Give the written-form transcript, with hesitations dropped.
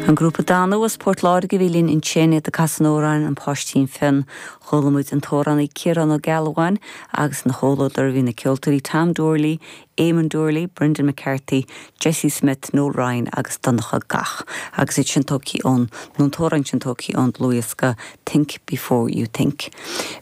An grúpa Danú as Port Láirge a bhí linn ansin, iad ag casadh an amhráin An Páistín Fionn. Chuala muid an t-amhránaí Ciarán Ó Gealbháin agus ina chomhluadar bhí na ceoltóirí Tom Doorley, Eamon Doorley, Brendan McCarthy, Jesse Smith, Noel Ryan agus Donncha Gach agus iad sin tógtha ón, nó an t-amhrán sin tógtha ón dlúthdhiosca Think Before You Think.